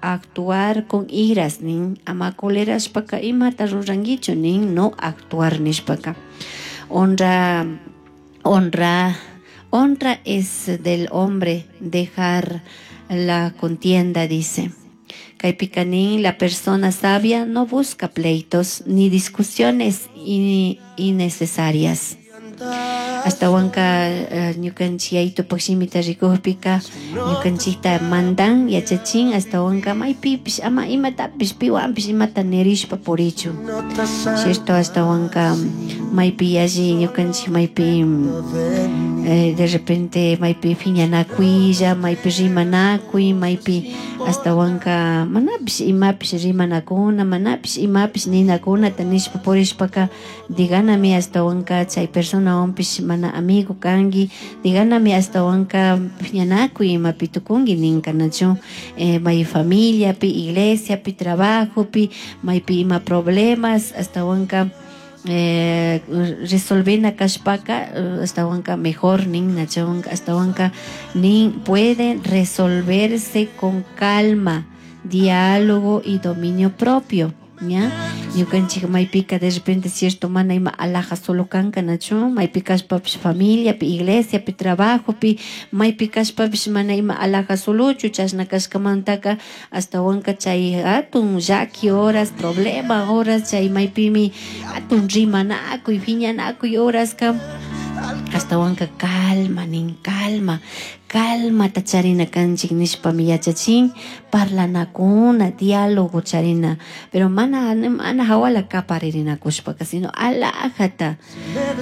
Actuar con iras nin, ama colerashpaka imata ruranguichu nin, no actuar nishpaka. Honra, honra, honra es del hombre dejar la contienda, dice. Kaypika nin, la persona sabia no busca pleitos ni discusiones innecesarias. Ashtawanka ñukanchik yayitupak shimita rikukpika ñukanchikta mandan yachachin, ashtawanka maypipish ama imatapish piwanpish imata nirishpa purichun, cierto? Ashtawanka maypi yalli ñukanchik maypi de repente maypi piñanakuylla, maypi rimanakuy, maypi ashtawanka manapish imapish rimanakuna, manapish imapish ninakunata nishpa purishpaka, diganami ashtawanka chay personawanpish mana amigo kanki, diganami ashtawanka piñanakuy imapi tukunki ninka, nachu? May familiapi, iglesiapi, trabajopi, maypi ima problemas ashtawanka resolvena kashpaka, ashtawanka mejor nin, nachu? Ashtawanka nin pueden resolverse con calma, diálogo y dominio propio, ¿ya? Ñukanchik maypika de repente, cierto, mana ima alaja solo kanka, nachu? Maypi kashpapish familiapi, iglesiapi, trabajopi, maypi kashpapish mana ima alaja solochu. Chashna kashkamantaka ashtawanka chay hatun llaki horas, problema horas, chay maypimi hatun rimanakuy, piñanakuy horaska, ashtawanka calma nin, calma, calmata charina kanchik nishpami yachachin, parlanakuna, diálogo charina, pero mana hawala kaparirinakushpaka, sino alajata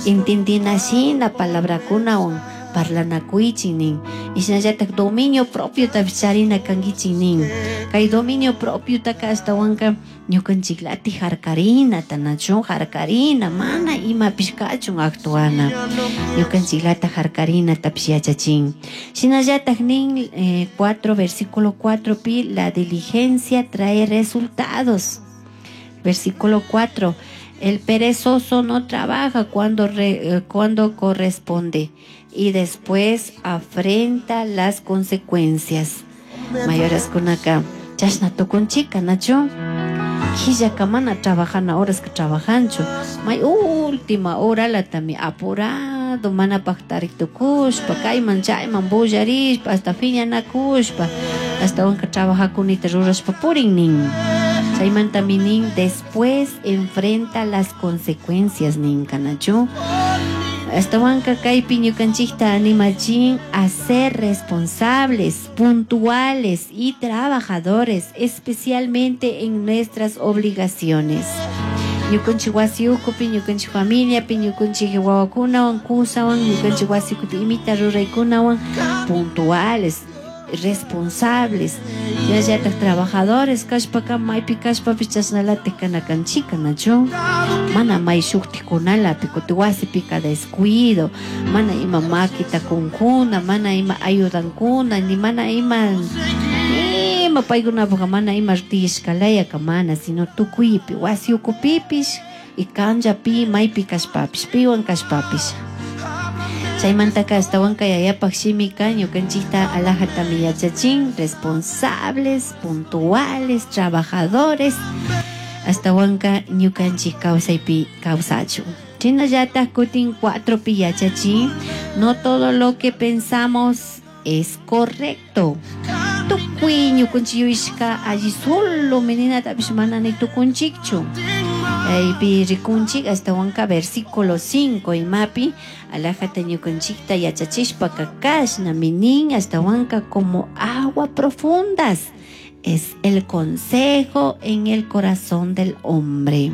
intindina shina palabrakunawan parlanakuychik nin. Shinallatak dominio propiotapish charina kankichik nin. Kay dominio propiotaka ashtawanka ñukanchiklatik harkarinata, nachu? Harkarina, mana imapish kachun actuana, ñukanchiklata harkarinatapish yachachin. Shinallatak nin 4 versículo 4 pi, la diligencia trae resultados. Versículo 4: el perezoso no trabaja cuando corresponde y después afrenta las consecuencias. Mayoraskunaka chashna tukunchika, nachu? Killaka mana trabajana horaska trabajanchu, may última horalatami apurado, mana paktarik tukushpa, kayman chayman bullarishpa, hasta piñanakushpa, ashtawanka trabajakunita rurashpa purin nin. Chaymantami nin después enfrenta las consecuencias ninka, nachu? Ashtawanka kaypi ñukanchikta animachin a ser responsables, puntuales y trabajadores, especialmente en nuestras obligaciones. Ñukanchik wasi ukupi, ñukanchik familiapi, ñukanchik wawakunawan, kusawan, ñukanchik wasi ukupi imita ruraykunawan, puntuales, responsables, shinallatak trabajadores kashpaka maypi kashpapish chashnalatik kana kanchika, nachu? Mana may shuktikunalapi kuti wasipika descuido, mana ima makita kunkuna, mana ima ayudankuna, ni mana ima paykunapuka mana ima tiyashkalayaka mana, sino tukuypi wasi ukupipish y kanllapi maypi kashpapish, piwan kashpapish. Chaymantaka ashtawanka yayapak shimika ñukanchikta alajatami yachachin, responsables, puntuales, trabajadores, ashtawanka ñukanchik kawsaypi kawsachun. Shinallatak kutin 4pi yachachin, no todo lo que pensamos es correcto. Tukuy ñukanchik yuyashka alli solo meninatapish mana ni tukunchikchu. Aypi rikunchik ashtawanka versículo 5 imapi alajata ñukanchikta yachachishpaka kashnami nin, ashtawanka como agua profundas es el consejo en el corazón del hombre.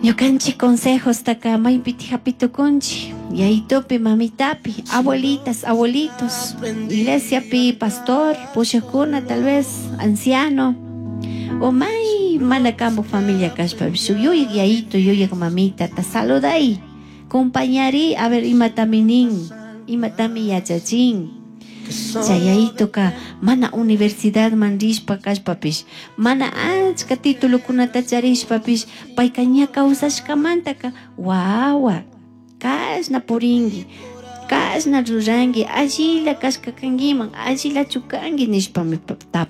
Ñukanchik consejostaka maypiti hapitukunchik, yayitupi, mamitapi, abuelitas, abuelitos, iglesiapi, pastor, pushakuna, tal vez anciano, o may mana kampu familia kashpa, shuk yuyak yayito, yuyak mamita, ta saluday, compañari, a ver imatami nin, imatami yachachin. Chay yayitoka mana universidad man rishpa kashpapish, mana achka titulokunata charishpapish, payka ña kawsashkamantaka wawa, kashna purinki, kashna ruranki, allila kashka kankiman, allilachu kanki nishpami.